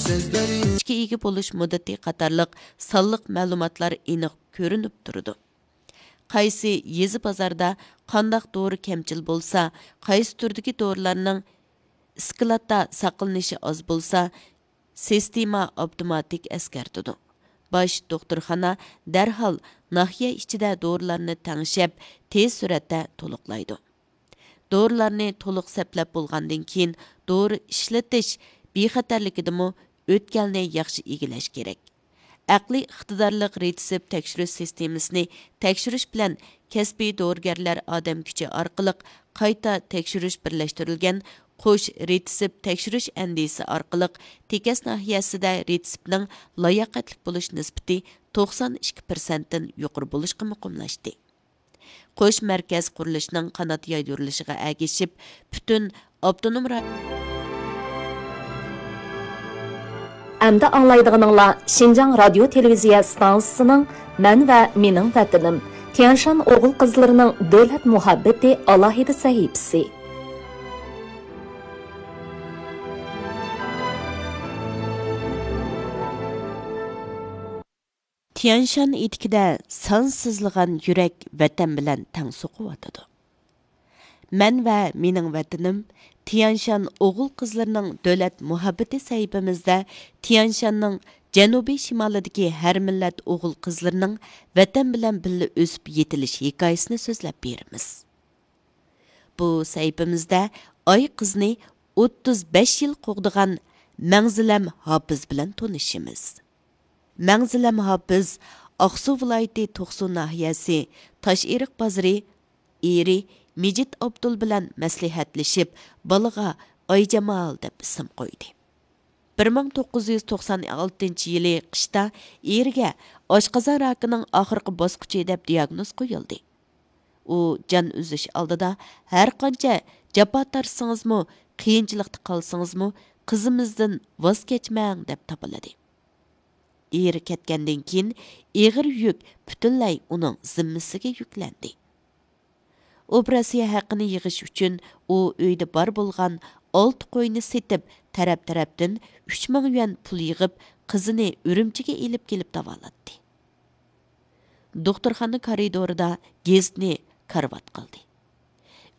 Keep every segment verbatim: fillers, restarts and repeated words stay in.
ئىگە بولۇش مۇددىتى قاتارلىق سانلىق مەلۇماتلار ئېنىق كۆرۈنۈپ تۇرىدۇ. قايسى يېزا بازاردا قانداق دورا كەمچىل بولسا، قايسى تۈردىكى دورىلارنىڭ ئىسكىلاتتا ساقلىنىشى ئاز بولسا، سىستېما ئاپتوماتىك ئەسكەرتىدۇ. باش دوختۇرخانا دەرھال ناھىيە ئىچىدە دورىلارنى تەڭشەپ، تېز سۈرئەتتە تولۇقلايدۇ. دورىلارنى تولۇق سەپلەپ بولغاندىن كېيىن، دورا ئىشلىتىش بىخەتەرلىكىدىمۇ ئۆتكەلنى ياخشى ئىگىلەش كېرەك. ئەقلىي ئىقتىدارلىق رېتسېپت تەكشۈرۈش سىستېمىسىنى تەكشۈرۈش بىلەن كەسپىي دورىگەرلەر ئادەم كۈچى ئارقىلىق قايتا تەكشۈرۈش بىرلەشتۈرۈلگەن قوش رېتسېپت تەكشۈرۈش ئەندىزىسى ئارقىلىق تېكەس ناھىيەسىدە رېتسېپتنىڭ لاياقەتلىك بولۇش نىسبىتى توقسان ئىككى پىرسەنتتىن يۇقىرى بولۇشقا مۇقىملاشتى. قوش مەركەز قۇرۇلۇشىنىڭ قانات يايدۇرۇلۇشىغا ئەگىشىپ، پۈتۈن ئاپتونوم رايون ئەمدى ئاڭلايدىغىنىڭلار شىنجاڭ رادىيو تېلېۋىزىيە ئىستانسىسىنىڭ مەن ۋە مېنىڭ ۋەتىنىم، تيەنشان ئوغۇل قىزلىرىنىڭ دۆلەت مۇھەببىتى ئالاھىدە سەھىپىسى. تيەنشان ئېتىكىدە سانسىزلىغان يۈرەك ۋەتەن بىلەن تەڭ سوقۇۋاتىدۇ. مەن ۋە مېنىڭ ۋەتىنىم، تيەنشان ئوغۇل قىزلىرىنىڭ دۆلەت مۇھەببىتى سەھىپىمىزدە تيەنشاننىڭ جەنۇبىي شىمالىدىكى ھەر مىللەت ئوغۇل قىزلىرىنىڭ ۋەتەن بىلەن بىللە ئۆسۈپ يېتىلىش ھېكايىسىنى سۆزلەپ بېرىمىز. بۇ سەھىپىمىزدە ئاي قىزنى ئوتتۇز بەش يىل قوغدىغان مەڭزىلەم ھاپىز بىلەن تونۇشىمىز. مەڭزىلەم ھاپىز ئاقسۇ ۋىلايىتى توقسۇ ناھىيەسى تاشئېرىق بازىرى، ئېرى مىجىت ئابدۇل بىلەن مەسلىھەتلىشىپ، بالىغا ئايجامال دەپ ئىسىم قويدى. بىر مىڭ توققۇز يۈز توقسان ئالتىنچى يىلى قىشتا ئېرىگە ئاشقازان راكىنىڭ ئاخىرقى باسقۇچى دەپ دىياگنوز قويۇلدى. ئۇ جان ئۈزۈش ئالدىدا، ھەر قانچە جاپا تارتسىڭىزمۇ، قىيىنچىلىقتا قالسىڭىزمۇ، قىزىمىزدىن ۋاز كەچمەڭ دەپ تاپىلىدى. ئېرى كەتكەندىن كېيىن، ئېغىر يۈك پۈتۈنلەي ئۇنىڭ زىممىسىگە يۈكلەندى. ئوپېراتسىيە ھەققىنى يىغىش ئۈچۈن ئۇ ئۆيدە بار بولغان ئالتە قوينى سېتىپ، تەرەپ-تەرەپتىن ئۈچ مىڭ يۈەن پۇل يىغىپ، قىزىنى ئۈرۈمچىگە ئېلىپ كېلىپ داۋالاتتى. دوختۇرخانا كارىدورىدا گېزىتنى كارىۋات قىلدى.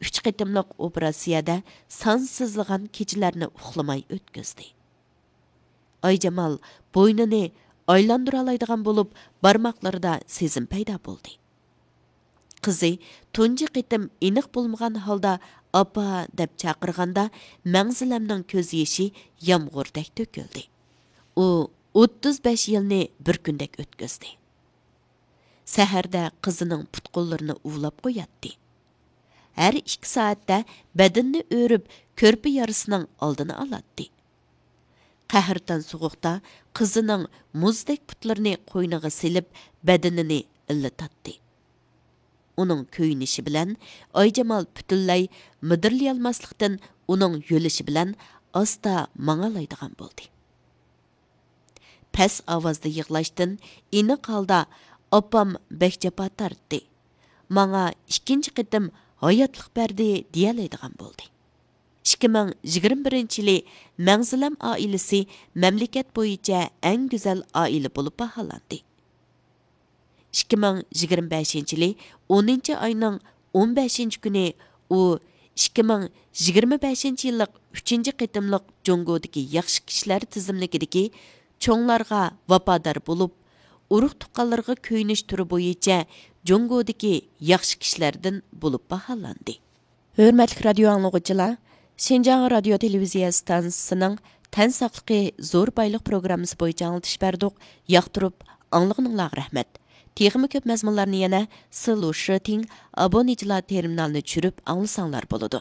ئۈچ قېتىملىق ئوپېراتسىيەدە سانسىزلىغان كېچىلەرنى ئۇخلىماي ئۆتكۈزدى. ئايجامال بوينىنى ئايلاندۇرالايدىغان بولۇپ، بارماقلىرىدا سېزىم پەيدا بولدى. قىزى تۇنجى قېتىم ئېنىق بولمىغان ھالدا «ئاپا» دەپ چاقىرغاندا، مەڭزىلەمنىڭ كۆز يېشى يامغۇردەك تۆكۈلدى. ئۇ ئوتتۇز بەش يىلنى بىر كۈندەك ئۆتكۈزدى. سەھەردە قىزىنىڭ پۇت-قوللىرىنى ئۇۋىلاپ قوياتتى. ھەر ئىككى سائەتتە بەدىنىنى ئۆرۈپ، كۆرپە يارىسىنىڭ ئالدىنى ئالاتتى. قەھرىتان سوغۇقتا قىزىنىڭ مۇزدەك پۇتلىرىنى قوينىغا سېلىپ، بەدىنىنى ئىللىتاتتى. ئۇنىڭ كۆيۈنۈشى بىلەن ئايجامال پۈتۈنلەي مىدىرلىيالماسلىقتىن، ئۇنىڭ يۆلىشى بىلەن ئاستا ماڭالايدىغان بولدى. پەس ئاۋازدا يىغلاشتىن ئېنىق ھالدا «ئاپام بەك جاپا تارتتى، ماڭا ئىككىنچى قېتىم ھاياتلىق بەردى» دېيەلەيدىغان بولدى. ئىككى مىڭ يىگىرمە بىرىنچى يىلى مەڭزىلەم ئائىلىسى مەملىكەت بويىچە ئەڭ گۈزەل ئائىلە بولۇپ باھالاندى. ئىككى مىڭ يىگىرمە بەشىنچى يىلى ئونىنچى ئاينىڭ ئون بەشىنچى كۈنى ئۇ ئىككى مىڭ يىگىرمە بەشىنچى يىللىق ئۈچىنچى قېتىملىق جۇڭگودىكى ياخشى كىشىلەر تىزىملىكىدىكى چوڭلارغا ۋاپادار بولۇپ، ئۇرۇق-تۇغقانلىرىغا كۆيۈنۈش تۈرى بويىچە جۇڭگودىكى ياخشى كىشىلەردىن بولۇپ باھالاندى. ھۆرمەتلىك رادىيو ئاڭلىغۇچىلار، شىنجاڭ رادىيو تېلېۋىزىيە ئىستانسىسىنىڭ تەن ساقلىقى زور بايلىق پروگراممىسى بويىچە ئاڭلىتىش بەردۇق. ياقتۇرۇپ ئاڭلىغىنىڭلارغا رەھمەت. تېخىمۇ كۆپ مەزمۇنلارنى يەنە سىلۇشىتىڭ ئابونېنتلار تېرمىنالىنى چۈشۈرۈپ ئاڭلىساڭلار بولىدۇ.